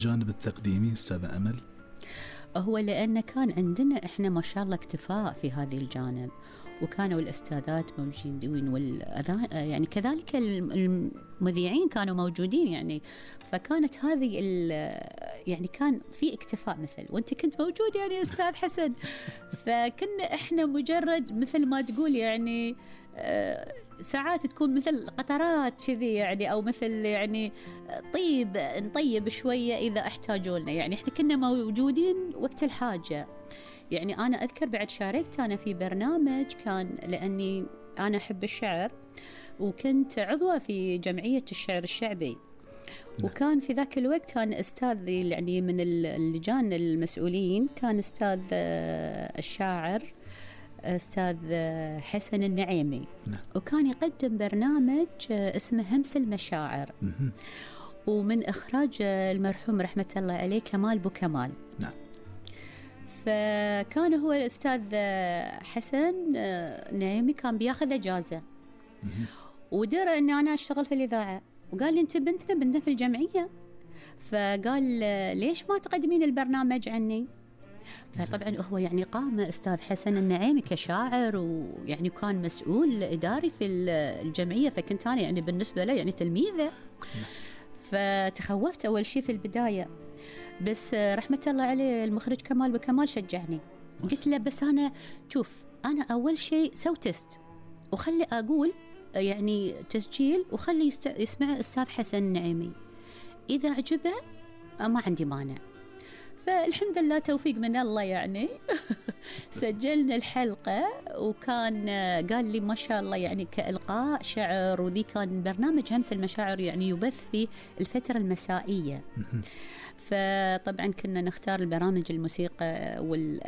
جانب التقديمي أستاذ أمل؟ هو لأن كان عندنا إحنا ما شاء الله اكتفاء في هذه الجانب، وكانوا الأستاذات موجودين والأذان يعني كذلك المذيعين كانوا موجودين يعني، فكانت هذه يعني كان في اكتفاء مثل وأنت كنت موجود يعني أستاذ حسن. فكنا إحنا مجرد مثل ما تقول يعني ساعات تكون مثل قطرات كذي يعني، أو مثل يعني نطيب شوية إذا احتاجولنا يعني. إحنا كنا موجودين وقت الحاجة يعني. أنا أذكر بعد شاركت أنا في برنامج كان لأني أنا أحب الشعر، وكنت عضوة في جمعية الشعر الشعبي، وكان في ذاك الوقت كان أستاذ يعني من اللجان المسؤولين كان أستاذ الشاعر أستاذ حسن النعيمي، وكان يقدم برنامج اسمه همس المشاعر، ومن إخراج المرحوم رحمة الله عليه كمال بوكمال. نعم. فكان هو الأستاذ حسن نعيمي كان بياخذ إجازة، ودرى أن أنا أشتغل في الإذاعة، وقال لي أنت بنتنا في الجمعية، فقال ليش ما تقدمين البرنامج عني؟ فطبعا هو يعني قام أستاذ حسن النعيمي كشاعر، ويعني كان مسؤول إداري في الجمعية، فكنت أنا يعني بالنسبة له يعني تلميذة. فتخوفت أول شيء في البداية، بس رحمة الله عليه المخرج كمال بكمال شجعني. قلت له بس أنا شوف، أنا أول شيء سوي تست وخلي أقول يعني تسجيل، وخلي يسمع أستاذ حسن النعيمي، إذا عجبه ما عندي مانع. فالحمد لله توفيق من الله يعني. سجلنا الحلقة، وكان قال لي ما شاء الله يعني كإلقاء شعر، وذي كان برنامج همس المشاعر يعني يبث في الفترة المسائية. فطبعا كنا نختار البرامج الموسيقى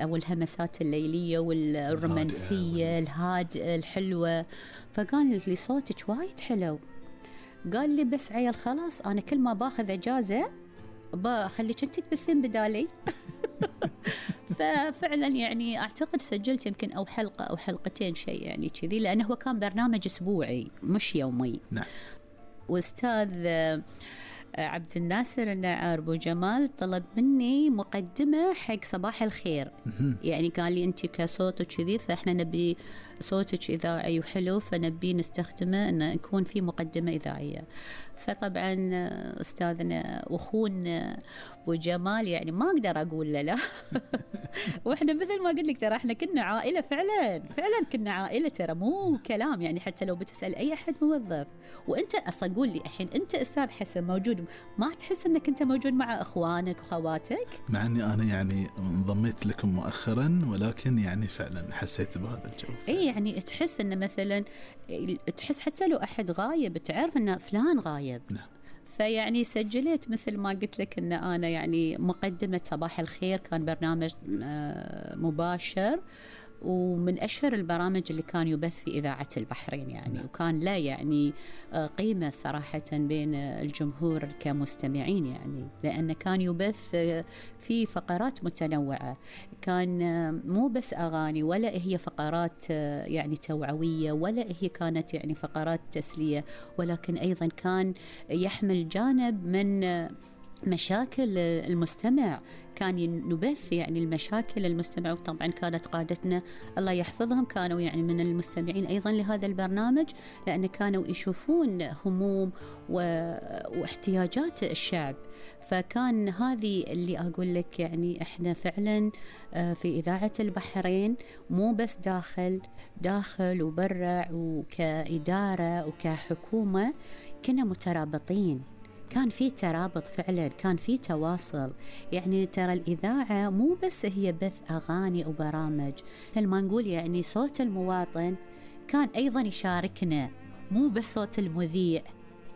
أو الهمسات الليلية والرومانسية الهادئة الحلوة. فقال لي صوتك وايد حلو، قال لي بس عيل خلاص أنا كل ما باخذ إجازة بخليك أنت تبثين بدالي. ففعلا يعني أعتقد سجلت يمكن أو حلقة أو حلقتين شيء يعني كذي، لأنه هو كان برنامج أسبوعي مش يومي. نعم. وأستاذ عبد الناصر النعار بو جمال طلب مني مقدمة حق صباح الخير. يعني قال لي أنت كصوتك كذي، فإحنا نبي صوتك إذاعي وحلو، فنبي نستخدمه أن يكون في مقدمة إذاعية. فطبعا أستاذنا وأخونا بو جمال يعني ما أقدر أقول لا. وإحنا مثل ما قلت لك ترى إحنا كنا عائلة، فعلا كنا عائلة ترى، مو كلام يعني. حتى لو بتسأل أي أحد موظف، وأنت أصلا قول لي الحين أنت أستاذ حسن موجود، ما تحس أنك أنت موجود مع إخوانك وخواتك؟ مع أني أنا يعني انضميت لكم مؤخرا، ولكن يعني فعلا حسيت بهذا الجو. إيه يعني تحس أن مثلا تحس حتى لو أحد غايب تعرف أن فلان غايب. نعم. فيعني سجلت مثل ما قلت لك أن أنا يعني مقدمة صباح الخير، كان برنامج مباشر، ومن أشهر البرامج اللي كان يبث في إذاعة البحرين يعني. وكان لا يعني قيمة صراحة بين الجمهور كمستمعين يعني، لأنه كان يبث في فقرات متنوعة، كان مو بس أغاني، ولا هي فقرات يعني توعوية، ولا هي كانت يعني فقرات تسلية، ولكن أيضا كان يحمل جانب من مشاكل المستمع. كان نبث يعني المشاكل المستمع، وطبعا كانت قادتنا الله يحفظهم كانوا يعني من المستمعين أيضا لهذا البرنامج، لأن كانوا يشوفون هموم واحتياجات الشعب. فكان هذه اللي أقول لك يعني إحنا فعلا في إذاعة البحرين مو بس داخل وبرع، وكإدارة وكحكومة كنا مترابطين، كان في ترابط فعلا، كان في تواصل يعني. ترى الإذاعة مو بس هي بث أغاني أو برامج، مثل ما نقول يعني صوت المواطن كان أيضا يشاركنا، مو بس صوت المذيع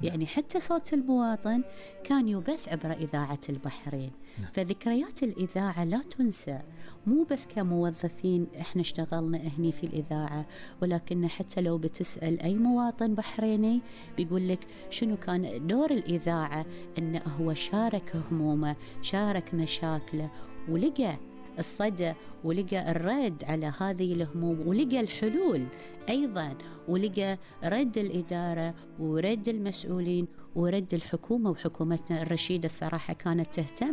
يعني، حتى صوت المواطن كان يبث عبر إذاعة البحرين. فذكريات الإذاعة لا تنسى، مو بس كموظفين إحنا اشتغلنا هني في الإذاعة، ولكن حتى لو بتسأل أي مواطن بحريني بيقول لك شنو كان دور الإذاعة، إنه هو شارك همومه، شارك مشاكله، ولقى الصدى، ولقى الرد على هذه الهموم، ولقى الحلول أيضا، ولقى رد الإدارة ورد المسؤولين ورد الحكومة. وحكومتنا الرشيدة الصراحة كانت تهتم